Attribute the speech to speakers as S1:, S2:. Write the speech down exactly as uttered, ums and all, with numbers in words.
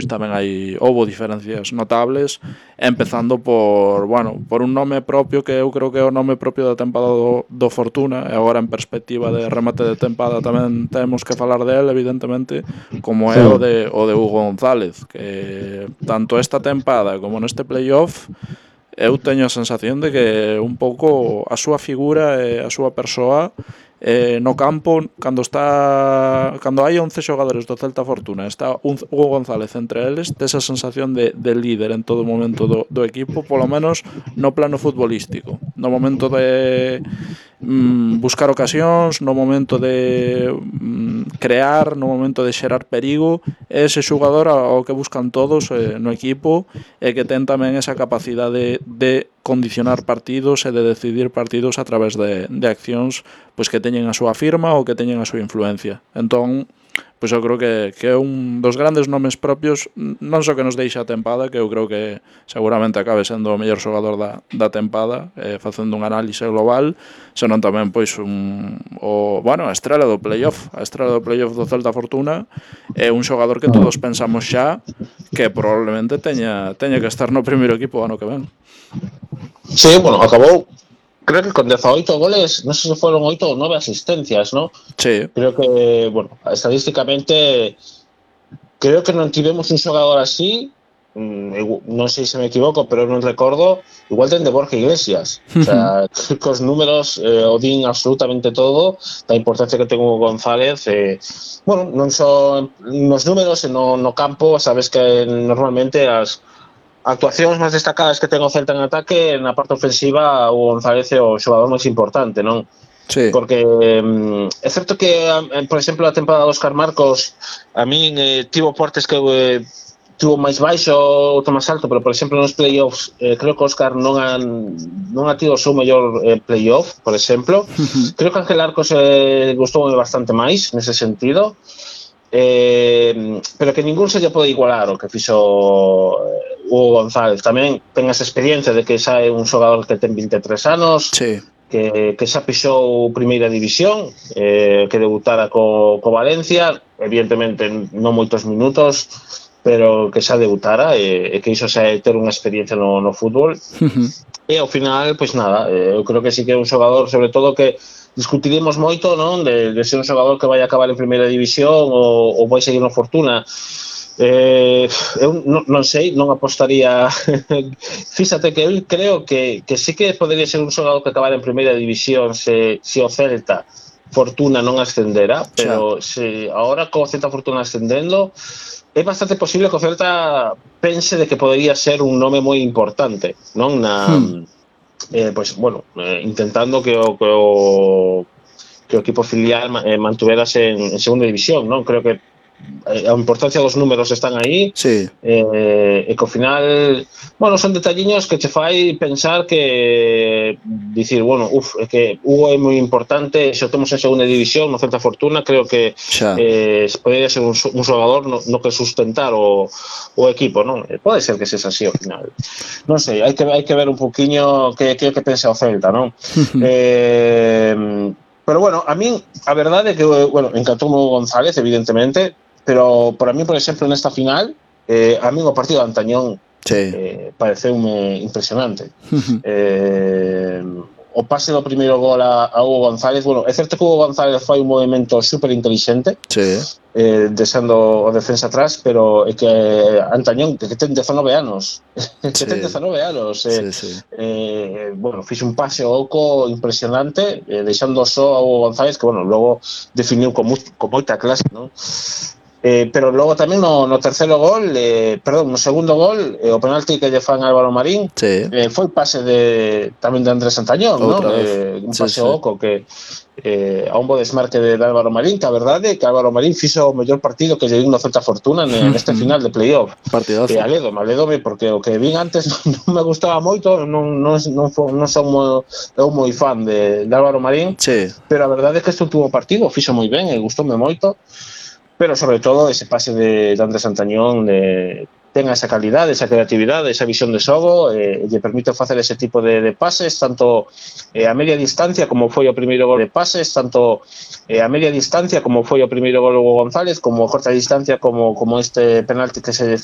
S1: pois tamén hai houbo diferencias notables, empezando por, bueno, por un nome propio que eu creo que é o nome propio da tempada do, do Fortuna, e agora en perspectiva de remate de tempada tamén temos que falar del, evidentemente, como é o de, o de Hugo González, que tanto esta tempada como neste playoff eu teño a sensación de que un pouco a súa figura e a súa persoa eh, no campo, cando está cando hai once xogadores do Celta Fortuna, está un Hugo González entre eles, tes a sensación de, de líder en todo momento do, do equipo, polo menos no plano futbolístico, no momento de mm, buscar ocasións, no momento de mm, crear, no momento de xerar perigo, é ese xogador ao que buscan todos eh, no equipo, e que ten tamén esa capacidade de condicionar partidos e de decidir partidos a través de, de accións pois que teñen a súa firma ou que teñen a súa influencia. Entón, pois eu creo que, que é un dos grandes nomes propios, non só que nos deixa a tempada, que eu creo que seguramente acabe sendo o mellor xogador da, da tempada, eh, facendo un análise global, senón tamén pois un, o, bueno, a estrela do playoff, a estrela do playoff do Celta Fortuna, é un xogador que todos pensamos xa que probablemente teña, teña que estar no primeiro equipo o ano que ven.
S2: Sí, bueno, acabou, creo que con dezaoito goles, non sei se foron oito ou nove asistencias, ¿no?
S1: Sí.
S2: Creo que, bueno, estadísticamente, creo que non tivemos un xogador así, non sei se me equivoco, pero non recordo, igual ten de Borja Iglesias. O sea, que os números eh, o din absolutamente todo, da importancia que ten Hugo González. Eh, bueno, non só nos números, no, no campo, sabes que normalmente as actuacións máis destacadas que ten o Celta en ataque, na parte ofensiva o González é o xogador máis importante, non?
S1: Sí.
S2: Porque é certo que, por exemplo, a temporada de Óscar Marcos a min eh, tivo portes que eh, tivo máis baixo ou máis alto, pero por exemplo nos playoffs eh, creo que Óscar non ha, non ha tido o seu mellor eh, playoff, por exemplo. Uh-huh. Creo que Ángel Arcos eh, gustou bastante máis nese sentido. Eh, pero que ningún se lle pode igualar o que fixo Hugo González. Tamén ten esa experiencia de que xa é un xogador que ten vinte e tres anos,
S1: sí.
S2: que, que xa pixou primeira división, eh, que debutara co, co Valencia, evidentemente non moitos minutos, pero que xa debutara, e, e que iso xa é ter unha experiencia no, no fútbol. Uh-huh. E ao final, pois nada, eh, eu creo que sí que é un xogador, sobre todo, que discutiremos moito, non, de, de ser un xogador que vai acabar en primeira división ou, ou vai seguir no Fortuna. Eh, eu non, non sei, non apostaría. Fíxate que eu creo que, que sí que podería ser un xogador que acabar en primeira división se, se o Celta Fortuna non ascendera, pero se agora co Celta Fortuna ascendendo, é bastante posible que o Celta pense de que podería ser un nome moi importante, non, na... Hmm. Eh, pues bueno, eh, intentando que o, que o que o equipo filial eh, mantuverase en, en segunda división, non? Creo que eh, a importancia dos números están aí,
S1: sí.
S2: eh, e que ao final, bueno, son detalliños que che fai pensar que dicir, bueno, uf, é que Hugo é moi importante, se o temos en segunda división no Celta Fortuna, creo que eh, podería ser un, un xogador no, no que sustentar o, o equipo, non? Pode ser que sexa así ao final. Non sei, hai que, hai que ver un poquinho que, que, que pensa o Celta, non? eh, pero bueno, a min, a verdade é que, bueno, encantou o González, evidentemente, pero para mí, por exemplo, nesta final, eh, a mí o partido de Antañón
S1: sí.
S2: eh, pareceume impresionante. eh, o pase do primeiro gol a, a Hugo González, bueno, é certo que Hugo González foi un movimento super inteligente,
S1: sí.
S2: eh, deixando o defensa atrás, pero é que Antañón, que ten dezanove anos, que
S1: sí.
S2: ten dezanove anos, eh,
S1: sí, sí.
S2: eh, bueno, fixe un pase ao oco impresionante, eh, deixando só a Hugo González, que, bueno, logo definiu con, mu- con moita clase, non? Eh, pero logo tamén no, no terceiro gol, eh, perdón, no segundo gol, eh, o penalti que lle fan Álvaro Marín,
S1: sí.
S2: eh, foi pase de tamén de Andrés Antañón, non? Eh, un pase
S1: sí, sí.
S2: oco que eh, a un bo desmarque de, de Álvaro Marín, que a verdade é que Álvaro Marín fixo o mellor partido que lle vin no Celta Fortuna neste final de playoff.
S1: Partidazo.
S2: E alédome, alédome, porque o que vin antes non, non me gustaba moito, non, non, non, non son moi, eu moi fan de, de Álvaro Marín,
S1: sí.
S2: pero a verdade é que este último partido fixo moi ben e gustoume moito. Pero sobre todo ese pase de, de Andrés Antañón de, tenga esa calidade, esa creatividade, esa visión de xogo, eh, lle permite facer ese tipo de, de pases, tanto eh, a media distancia como foi o primeiro gol de pases, tanto eh, a media distancia como foi o primeiro gol Hugo González, como a corta distancia como, como este penalti que se